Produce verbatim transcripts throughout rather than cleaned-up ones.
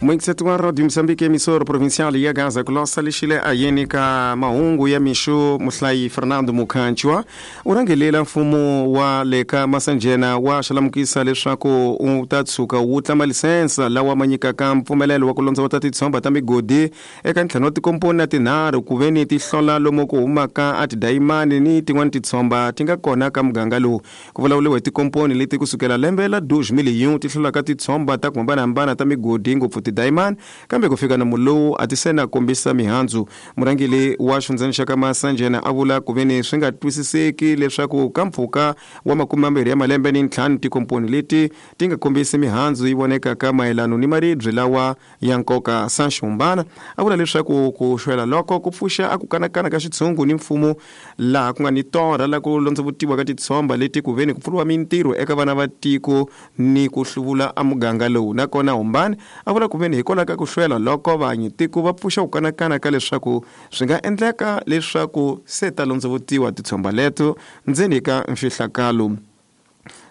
Muingiseti wa Radio Mozambique emissora provincial ya Gaza kulosa lixile ayeni ka mahungu ya mixo muhlayi Fernando Mukhanchwa u rhangelela mfumo wa le ka Masanjena wa xalamukisa leswaku u ta tshuka wu tlama lisensa lawa ma nyikaka mpfumelelo wa ku londzovota titshomba ta migodi eka ntlhanu wa tikomponi na tinharhu ku ve ni ti hlola lomu ku humaka a tidayimani ni tin'wani titshomba ti nga kona ka muganga lowu. Ku vulavuriwa hi tikomponi leti kusukela lembe la two thousand ti hlolaka titshomba ta ku hambanahambana ta migodi ngopfu tidayimani, kambe ku fika namu lowu a ti se na kombisa mihandzu. Murhangeri wa xifundzeni xa ka Masanjena a vula ku ve ni swi nga twisiseki leswaku ka mpfhuka wa makume mambirhi ya malembe ni ntlhanu tikomponi leti ti nga kombisi mihandzu yi vonekaka mayelano ni maribye lawa ya nkoka. Sanxumbana a vula leswaku ku xwela loko ku pfuxa a ku kanakana ka xitshungu ni mfumo laha ku nga ni torha la ku londzovutiwa ka titshomba leti ku ve ni ku pfuriwa mintirho eka vana va tiko ni ku hluvula a muganga lowu. Nakona Humbani a vula ku ve ni hikwalaho ka ku hlwela loko vanyi tiko va pfuxa ku kanakana ka leswaku swi nga endleka leswaku se ta londzovutiwa titshomba leto ndzeni ka mfihlakalo.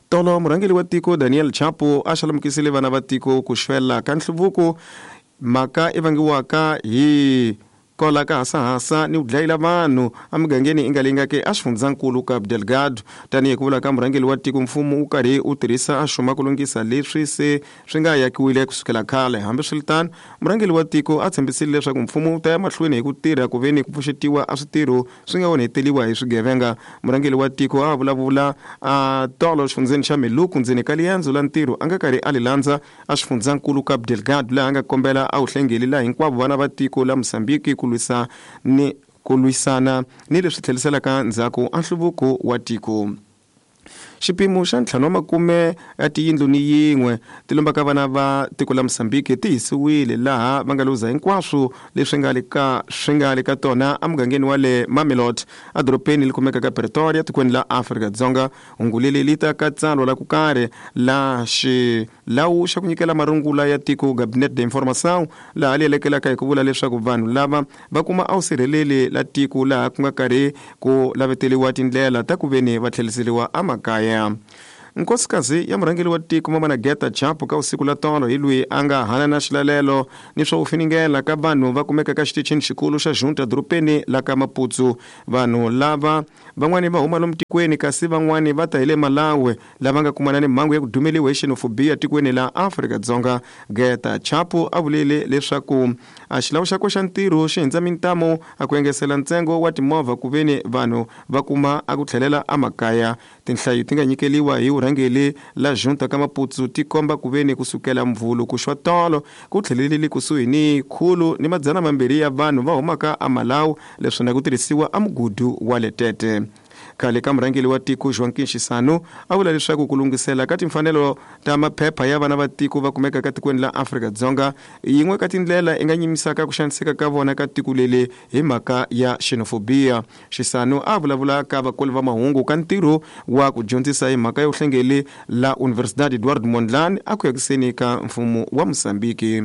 Tolo murhangeri wa tiko Daniel Chapo a xalamukisile vana va tiko ku xwela ka nhluvuko mhaka i vangiwaka hi kola ka hasahasa ni ku dlayela vanhu emugangeni i nga leyi nga ke a xifundzankulu ka Delgado. Tanihi ku vula ka murhangeri wa tiko, mfumo wu karhi wu tirhisa a xuma ku lunghisa leswi se swi nga yakiwile kusukela khale. Hambiswiritano, murhangeri wa tiko a tshembisile leswaku mfumo wu ta ya mahlweni hi ku tirha ku ve ni ku pfuxetiwa a switirho swi nga onheteliwa hi swigevenga. Murhangeri wa tiko a vulavula a tolo xifundzeni xa Meluku ndzeni ka liendzo la ntirho a nga karhi a li landza a xifundzankulu ka Delgado, laha a nga kombela a wu hlengeli laha hinkwavo vana va tiko la Mozambique ku lwisa ni ku lwisana ni leswi tlheliselaka ndzhaku a nhluvuko wa tiko. Xipimo xa ntlhanu wa makume ya tiyindlu ni yin'we ti lombaka vana va tiko la Mozambique ti hisiwile laha va nga luza hinkwaswo leswi nga le ka swi nga le ka tona emugangeni wa le Mamelodi edorobeni li kumekaka Pretoria tikweni la Afrika-Dzonga. Hungu leri li ta ka tsalwa la ku karhi la xilawu xa ku nyikela marungula ya tiko Gabinete de Informação laha li elekelaka hi ku vula leswaku vanhu lava va kuma a wu sirheleli la tiko laha ku nga karhi ku laveteliwa tindlela ta ku ve ni va tlheliseriwa emakaya. Nkosikazi ya murhangeri wa tiko Mamana Geta Chapo ka usiku la tolo hi loyi a nga hanana xilalelo ni swo finingela ka vanhu va kumeka ka xitichini xikulu xa Junta dorobeni la ka Maputo. Vanhu lava van'wani va huma lomu tikweni kasi van'wani va ta hi le Malawi lava nga kumana ni mhangu ya ku dumeliwa hi xenophobia tikweni la Afrika-Dzonga. Geta Chapo a vulile leswaku a xilawu xakwe xa ntirho xi hindza mintamo a ku engesela ntsengo wa timovha ku ve ni vanhu va kuma a ku tlhelela emakaya. Tinhlayo ti nga nyikeliwa hi vurhangeri la Junta ka Maputo ti komba ku ve ni kusukela mvhulu ku xwa tolo ku tlhelelile kusuhi ni khulu ni madzana mambirhi ya vanhu va humaka eMalawi leswi na ku tirhisiwa emugudu wa le Tete. Khale ka murhangeri wa tiko Joaquim Chissano a vula leswaku ku lunghisela ka timfanelo ta maphepha ya vana va tiko va kumekaka tikweni la Afrika-Dzonga yin'we ka tindlela i nga nyimisaka ku xaniseka ka vona ka tiko leli hi mhaka ya xenophobia. Chissano a vulavula ka vakoli va mahungu ka ntirho wa ku dyondzisa hi mhaka ya vuhlengeli la Universidade Eduardo Mondlane a ku yakiseni ka mfumo wa Mozambique.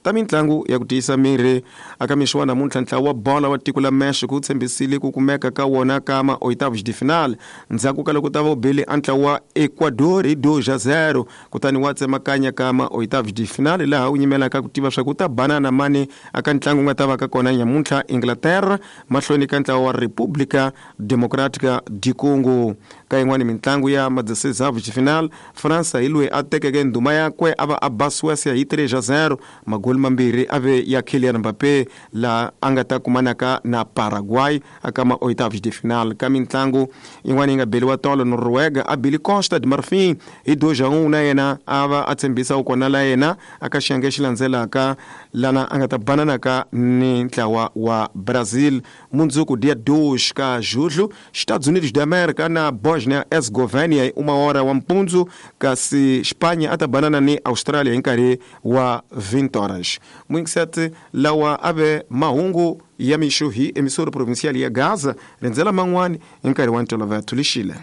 Ta mintlangu ya ku tiyisa miri aka mixo wa namuntlha ntlawa wa bola wa tiko la Mexico wu tshembisile ku kumeka ka wona ka ma oitavos de final ndzhaku ka loko ta va bele a ntlawa wa Ecuador hi dois a zero kutani wa tsemakanya ka ma oitavos de final laha wu nyimelaka ku tiva swa ku ta banana mani aka ntlangu nga ta va ka kona nyamuntlha Inglaterra mahlweni ka ntlawa wa República Democrática de Congo. Ka yin'wani mintlangu ya ma dezesseis de final, Fransa hi loyi a tekeke ndhuma yakwe a va a ba Suécia hi três a zero magoli mambirhi a ve ya Kylian Mbappé laha a nga ta kumanaka na Paraguay aka ma oitavos de final. Ka mintlangu yin'wana yi nga beliwa tolo, Noruega a bile Costa de Marfim hi dois a um na yena a va a tshembisa ku kona la yena aka xiyenge xi landzelaka lana a nga ta bananaka ni ntlawa wa Brazil. Mundzuku dia dois ka julho, Estados Unidos da América na Bosnia Herzegovina hi uma hora wa mpundzu kasi Espanha a ta banana ni Australia hi nkarhi wa vinte horas. Muingiseti lawa a ve mahungu ya mixo hi emissora provincial ya Gaza rindzela man'wani hi nkarhi wa ntolovelo. Lixile.